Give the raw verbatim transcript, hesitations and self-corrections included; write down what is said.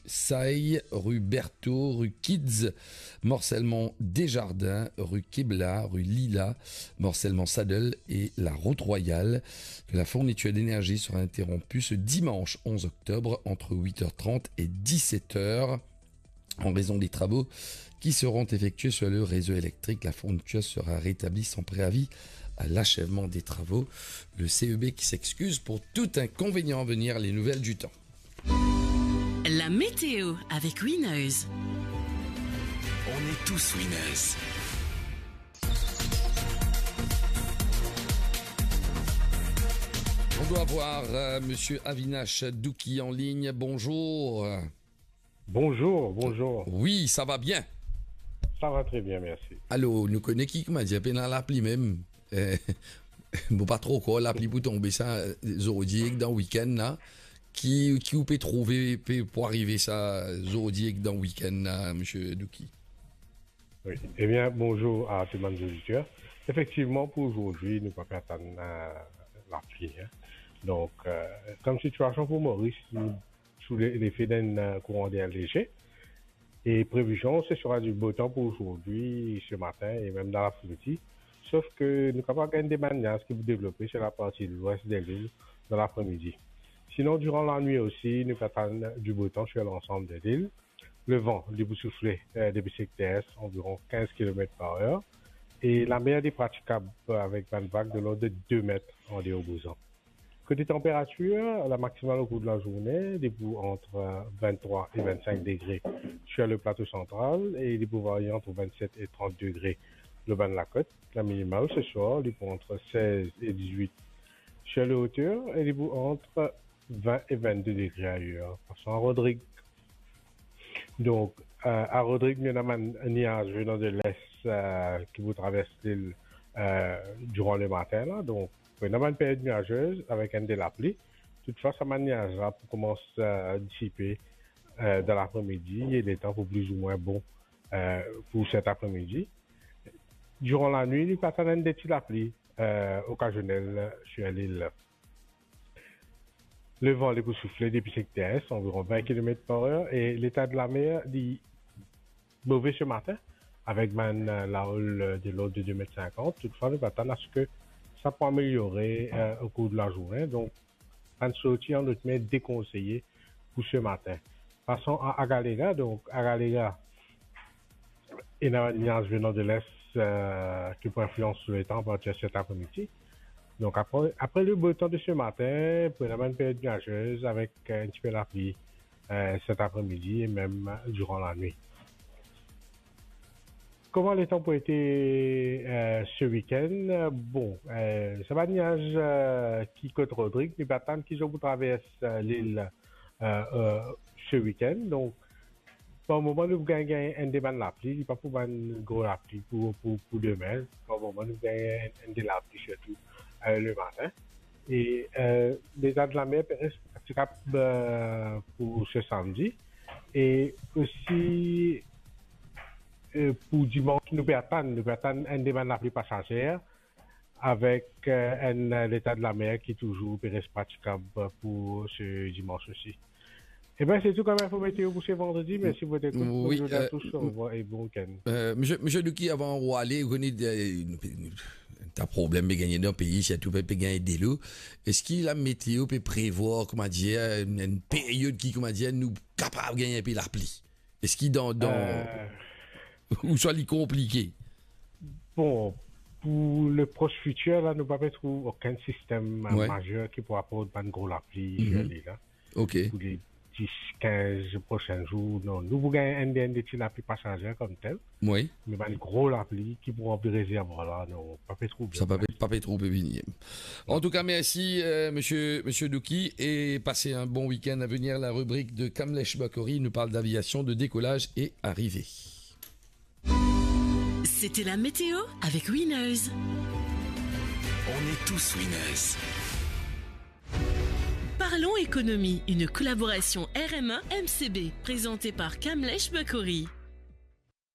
Sailly, rue Berthaud, rue Kids, morcellement Desjardins, rue Kebla, rue Lila, morcellement Saddle et la route Royale. Que la fourniture d'énergie sera interrompue ce dimanche onze octobre entre huit heures trente et dix-sept heures. En raison des travaux qui seront effectués sur le réseau électrique, la fourniture sera rétablie sans préavis à l'achèvement des travaux. Le C E B qui s'excuse pour tout inconvénient à venir, les nouvelles du temps. La météo avec Winners. On est tous winners. On doit avoir, euh, monsieur Avinash Douki en ligne. Bonjour. Bonjour, bonjour. Oui, ça va bien. Ça va très bien, merci. Alor, nou kone ki, koumadir, pena lapli mem. Eh, bon, pa tro krwar lapli pou tonbe sa, zordi ek dan wikenn la. Ki, ki ou pe trouve, pe, pou arive sa, zordi ek dan wikenn la, Monsieur Douki? Oui. Eh bien, bonjour à tout le monde auditeur. Effectivement, pour aujourd'hui, nou pa pe atann, euh, lapli, hein. Donc, euh, comme situation pour Maurice, nou sou le, l'effet d'un, euh, courant d'air léger. Et prévision, ce sera du beau temps pour aujourd'hui, ce matin et même dans l'après-midi. Sauf que nou kapav gagn de bann niaz ki pou devlope sur la partie de l'ouest de l'île dans l'après-midi. Sinon, durant la nuit aussi, nou pe atann du beau temps sur l'ensemble de l'île. Le van, li pou soufle, euh, depi sekter est, environ quinze kilomètres par heure. E lamer li pratikab avek bann vag de l'ordre de deux mètres an deor Bouzan. Kote tanperatir, la maximale au cours de la journée, li pou entre, euh, vingt-trois et vingt-cinq degrés sur le plateau central et li pou varier entre vingt-sept et trente degrés le bann lakot. La minimale ce soir, li pou entre seize et dix-huit sur les hauteurs et li pou entre vingt et vingt-deux degrés ailleurs. Passons à Rodrigue. Donk, euh, a Rodrig, nou ena bann niaz venan de l'est, euh, ki pou travers lil, euh, durant le matin la. Donk, nou ena bann period niazez avek enn de lapli. Toutfwa, sa bann niaz la pou koumans, euh, disipe, euh, dan lapremidi e letan pou plizoumwin bon, euh, pou set apremidi. Durant la nuit, nou pe atann enn de ti lapli, euh, okazionel sur lil. Le van li pou soufle depi sekter est, environ vingt kilomètres par heure, e leta de lamer li move se matin, avek bann, euh, laol, euh, de l'ordre de deux mètres cinquante. Toutfwa, nou pe atann aske sa pou ameliore, euh, au cours de la journée. Donk, bann sorti an lot mer dekonseye pou se matin. Passons à Agalega. Donk, Agalega, ena niaz venan de l'est, euh, ki pou inflians letan apartir set apremidi. Donk, apre, apre le beau temps de ce matin, pou ena bann period niazez avek, euh, enn tipe lapli, euh, set apremidi e mem durant la nuit. Kouma letan pou ete, euh, se wikenn? Bon, euh, sa bann niaz, euh, ki kot Rodrig, nou pe atann ki zot pou travers, euh, lil, euh, euh, se wikenn. Donk, par moman, nou pou gagn, gagn enn de bann lapli, li pa pou bann gro lapli pou, pou, pou demin. Par moman, nou pou gagn enn, enn de lapli, sirtou, euh, le matin. E, euh, leta de lamer pe res pratikab, euh, pou se samdi. E osi, euh, pou dimans, nou pe atann, nou pe atann enn de bann lapli pasazer avek, euh, enn, euh, leta de lamer ki touzour pe res pratikab pou se dimans osi. Eben, se tou kom info meteo pou se vandredi. Mersi pou zot ekout. Wi, bonzour a tous, orevwar e bon wikenn. Euh, Misie, Misie Douki, avan ou ale, ou kone, euh, nou pe, nou, ta problem pe gagn dan pei, sirtou pe, pe gagn delo. Eski lameteo pe prevwar, koumadir, enn, enn period ki, koumadir, nou kapav gagn enpe lapli? Eski dan, dan, euh, ouswa li konplike? Bon, pou le pros fitir, la, nou pa pe trouv okenn sistem, euh, mazer ki pou aport bann gro lapli, euh, li la. Ok. Pou le dis, kinz prosin zour, non. Nou pou gagn enn de, enn de ti lapli pasazer komtel. Wi. Me bann gro lapli ki pou ranpli rezervwar la, non, pa pe trouv. Sa pa pe, pa pe trouv pe vini. Antouka, mersi, euh, Misie, Misie Douki, e pase enn bon wikenn. A venir, la ribrik de Kamlesh Bakori, nou parl d'aviasion, de décollage et arrivée. C'était la météo avec Winners. On est tous winners. Parlons économie, une collaboration R M un M C B, présentée par Kamlesh Bakori.